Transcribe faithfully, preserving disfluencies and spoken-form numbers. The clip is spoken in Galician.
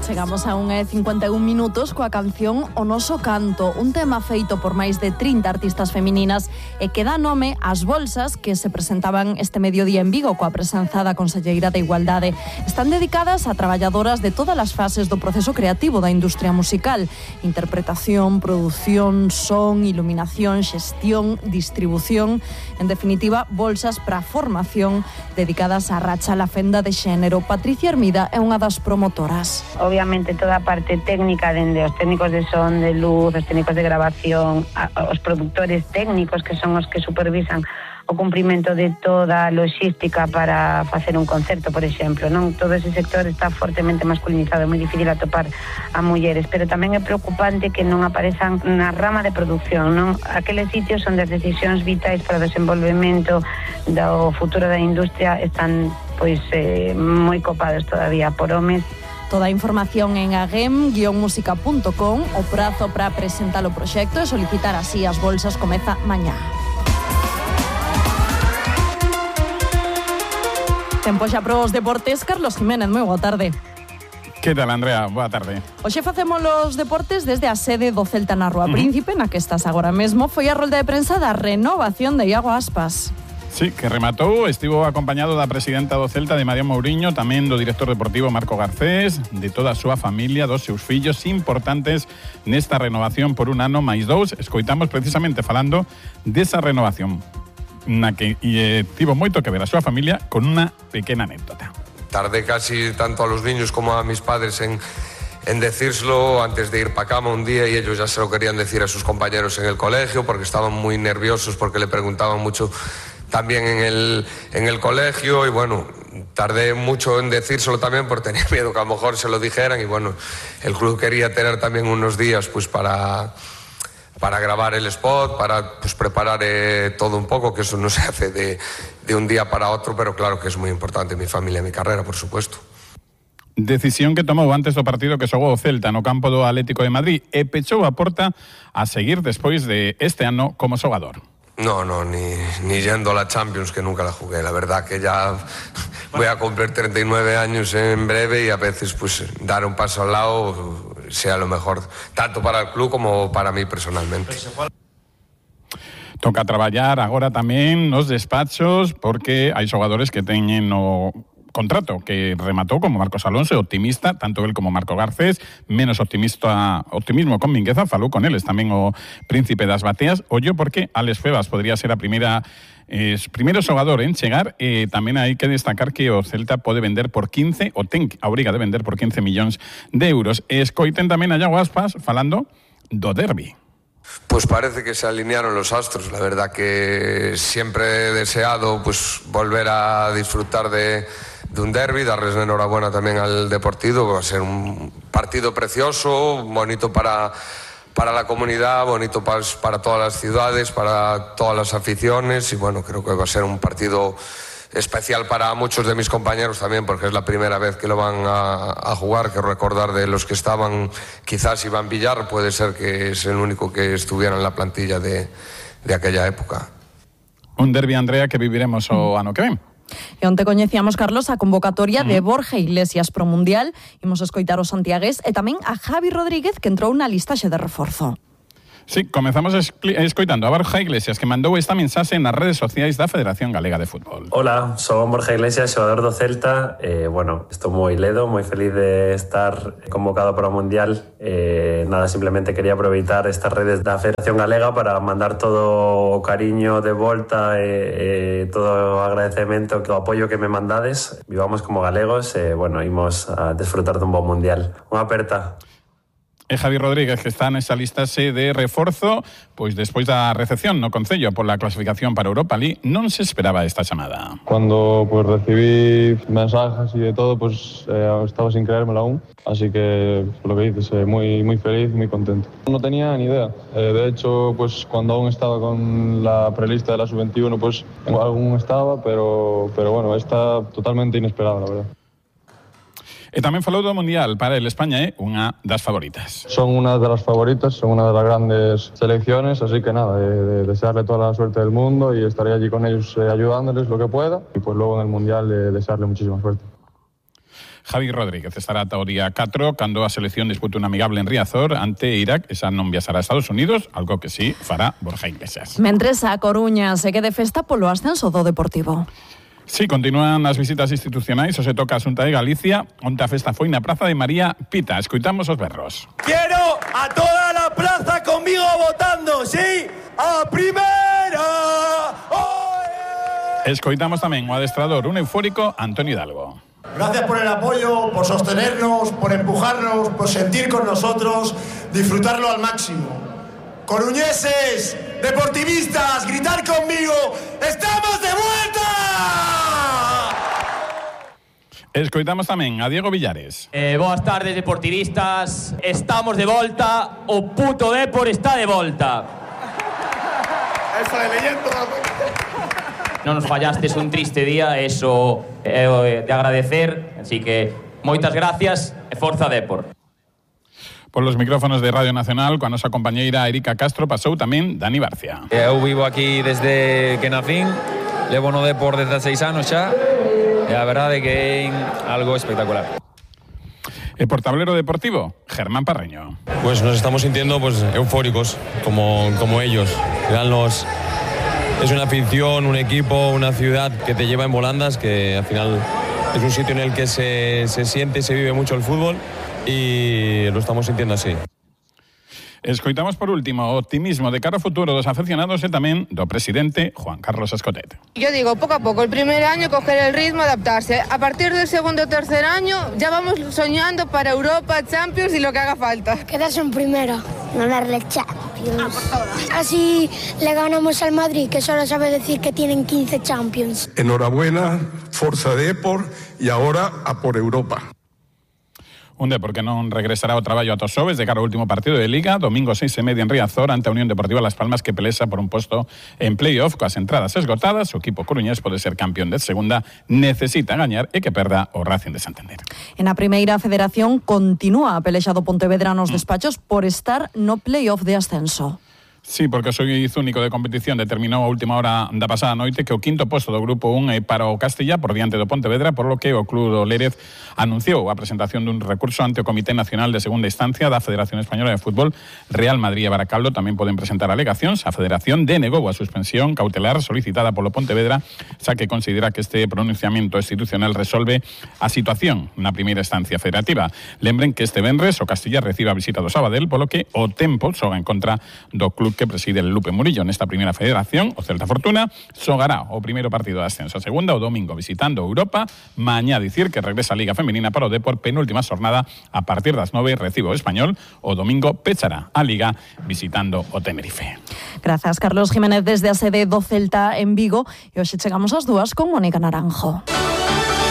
Chegamos a unha e cincuenta e un minutos coa canción O Noso Canto, un tema feito por máis de trinta artistas femininas e que dá nome ás bolsas que se presentaban este mediodía en Vigo coa presenza da Conselleira de Igualdade. Están dedicadas a traballadoras de todas as fases do proceso creativo da industria musical: interpretación, produción, son, iluminación, xestión, distribución, en definitiva, bolsas para formación dedicadas á racha la fenda de xénero. Patricia Hermida é unha das promotoras. Obviamente toda a parte técnica, dende os técnicos de son, de luz, os técnicos de grabación, os productores técnicos que son os que supervisan o cumprimento de toda a logística para facer un concerto, por exemplo, non? Todo ese sector está fortemente masculinizado, é moi difícil atopar a mulleres, pero tamén é preocupante que non aparezan na rama de producción, non? Aqueles sitios onde as decisións vitais para o desenvolvemento do futuro da industria están pois eh, moi copados todavía por homes. Toda a información en agem guion música punto com. O prazo para presentar o proxecto e solicitar así as bolsas comeza mañá. Tempo xa pros deportes. Carlos Jiménez, moi boa tarde. Que tal, Andrea? Boa tarde. Hoxe facemos os deportes desde a sede do Celta na Rúa uh-huh. Príncipe, na que estás agora mesmo. Foi a rolda de prensa da renovación de Iago Aspas. Sí, que rematou, estivo acompañado da presidenta do Celta, de María Mouriño, tamén do director deportivo Marco Garcés, de toda a súa familia, dos seus fillos importantes nesta renovación por un ano máis dous. Escoitamos precisamente falando desa renovación na que e, tivo moito que ver a súa familia con unha pequena anécdota. Tardé casi tanto a los niños como a mis padres en, en decírselo antes de ir pa cama un día, y ellos ya se lo querían decir a sus compañeros en el colegio porque estaban muy nerviosos, porque le preguntaban mucho también en el, en el colegio, y bueno, tardé mucho en decírselo también porque tenía miedo que a lo mejor se lo dijeran, y bueno, el club quería tener también unos días pues para, para grabar el spot, para pues preparar eh, todo un poco, que eso no se hace de, de un día para otro, pero claro que es muy importante mi familia, mi carrera, por supuesto. Decisión que tomou antes do partido que xogou o Celta no campo do Atlético de Madrid e pechou a porta a seguir despois de este ano como xogador. No, no, ni, ni yendo a la Champions, que nunca la jugué. La verdad que ya voy a cumplir treinta y nueve años en breve, y a veces pues dar un paso al lado sea lo mejor, tanto para el club como para mí personalmente. Toca traballar agora tamén nos despachos, porque hai xogadores que teñen o contrato que rematou, como Marcos Alonso, optimista, tanto él como Marco Garcés, menos optimista, optimismo con Mingueza, falou con eles tamén o príncipe das bateas. Ollo porque Alex Febas podría ser a primeira eh, primeiro xogador en chegar, e eh, tamén hai que destacar que o Celta pode vender por quince, ou ten a obriga de vender por quince millóns de euros. Escoiten tamén a Iago Aspas falando do derbi. Pues parece que se alinearon los astros. La verdad que siempre he deseado pues volver a disfrutar de de un derbi, darles la enhorabuena también al Deportivo. Va a ser un partido precioso, bonito para, para la comunidad, bonito para, para todas las ciudades, para todas las aficiones, y bueno, creo que va a ser un partido especial para muchos de mis compañeros también, porque es la primera vez que lo van a, a jugar. Quiero recordar de los que estaban, quizás Iván Villar, puede ser que es el único que estuviera en la plantilla de, de aquella época. Un derbi, Andrea, que viviremos o ano que ven. E onte coñecíamos, Carlos, a convocatoria mm. de Borja Iglesias pro Mundial. Imos escoitar os santiagués e tamén a Javi Rodríguez, que entrou na listaxe de reforzo. Sí, comezamos escoitando a Borja Iglesias, que mandou esta mensaxe nas redes sociais da Federación Galega de Fútbol. Hola, son Borja Iglesias, xogador do Celta. Eh, bueno, estou moi ledo, moi feliz de estar convocado para o Mundial. Eh, nada, simplemente quería aproveitar estas redes da Federación Galega para mandar todo o cariño de volta e eh, todo o agradecemento, o apoio que me mandades. Vivamos como galegos e, eh, bueno, imos a desfrutar dun bon Mundial. Unha aperta. E Javi Rodríguez, que está nesa listaxe de reforzo, pois despois da recepción no Concello pola clasificación para Europa League, non se esperaba esta chamada. Cuando pues recibí mensajes y de todo, pues eh, estaba sin creérmelo aún, así que lo que dices, eh, muy, muy feliz, muy contento. No tenía ni idea, eh, de hecho, pues cuando aún estaba con la prelista de la sub veintiuno, pues aún estaba, pero, pero bueno, está totalmente inesperado, la verdad. E tamén falou do Mundial. Para el, España é unha das favoritas. Son una de las favoritas, son una de las grandes selecciones, así que nada, de, de desearle toda la suerte del mundo y estaré allí con ellos eh, ayudándoles lo que pueda, y pues luego en el Mundial eh, desearle muchísima suerte. Javi Rodríguez estará ata o día catro cando a selección dispute un amigable en Riazor ante Irak, esa non viaxará a Estados Unidos, algo que sí fará Borja Iglesias. Mentres a Coruña se quede festa polo ascenso do Deportivo. Sí, continúan as visitas institucionais, o se toca a Xunta de Galicia, onde a festa foi na Praza de María Pita. Escoitamos os berros. Quiero a toda la plaza conmigo votando, ¿sí? ¡A primera! ¡Oye! Escoitamos tamén o adestrador, un eufórico, Antonio Hidalgo. Gracias por el apoyo, por sostenernos, por empujarnos, por sentir con nosotros, disfrutarlo al máximo. Coruñeses, deportivistas, gritar conmigo, ¡estamos de vuelta! Escoitamos tamén a Diego Villares. Eh, boas tardes, deportivistas. Estamos de volta, o puto Depor está de volta. Eso de leyendo. Non nos fallastes un triste día, eso é eh, de agradecer, así que moitas gracias e forza Depor. Por los micrófonos de Radio Nacional, coa nosa compañeira Erika Castro, pasou tamén Dani Barcia. Eu vivo aquí desde que nacín, levo no Depor desde seis anos xa, e a verdade que é algo espectacular. E por tablero deportivo, Germán Parreño. Pues nos estamos sintiendo pues eufóricos, como, como ellos. Los, es una afición, un equipo, una ciudad que te lleva en volandas, que al final es un sitio en el que se, se siente y se vive mucho el fútbol. Y lo estamos sintiendo así. Escoitamos por último o optimismo de cara ao futuro dos aficionados e tamén do presidente Juan Carlos Escotet. Yo digo, poco a poco, el primer año coger el ritmo, adaptarse. A partir del segundo o tercer año ya vamos soñando para Europa, Champions y lo que haga falta. Quedarse en primera, ganarle Champions. Ah, Así le ganamos al Madrid, que solo sabe decir que tienen quince Champions. Enhorabuena, Forza Depor, y ahora a por Europa. Un Depor que non regresará ao traballo ata os xoves de cara ao último partido de Liga, domingo seis e media en Riazor ante a Unión Deportiva Las Palmas, que pelesa por un posto en playoff coas entradas esgotadas. O equipo coruñés pode ser campeón de segunda, necesita gañar e que perda o Racing de Santander. En a primeira federación continúa a pelexa do Pontevedra nos despachos por estar no playoff de ascenso. Sí, porque o xuíz único de competición determinou a última hora da pasada noite que o quinto posto do grupo un é para o Castilla por diante do Pontevedra, por lo que o Club do Lérez anunciou a presentación dun recurso ante o Comité Nacional de Segunda Instancia da Federación Española de Fútbol. Real Madrid e Baracaldo tamén poden presentar alegacións. A Federación denegou a suspensión cautelar solicitada polo Pontevedra, xa que considera que este pronunciamento institucional resolve a situación na primeira instancia federativa. Lembren que este venres o Castilla recibe a visita do Sabadell, polo que o tempo xoga en contra do club que preside el Lupe Murillo nesta primeira federación. O Celta Fortuna xogará o primeiro partido de ascenso a segunda o domingo visitando Europa. Mañá dicir que regresa a Liga Femenina para o Depor, penúltima xornada a partir das nove recibo o Español. O domingo pechará a Liga visitando o Tenerife. Grazas, Carlos Jiménez, desde a sede do Celta en Vigo. E hoxe chegamos ás dúas con Mónica Naranjo.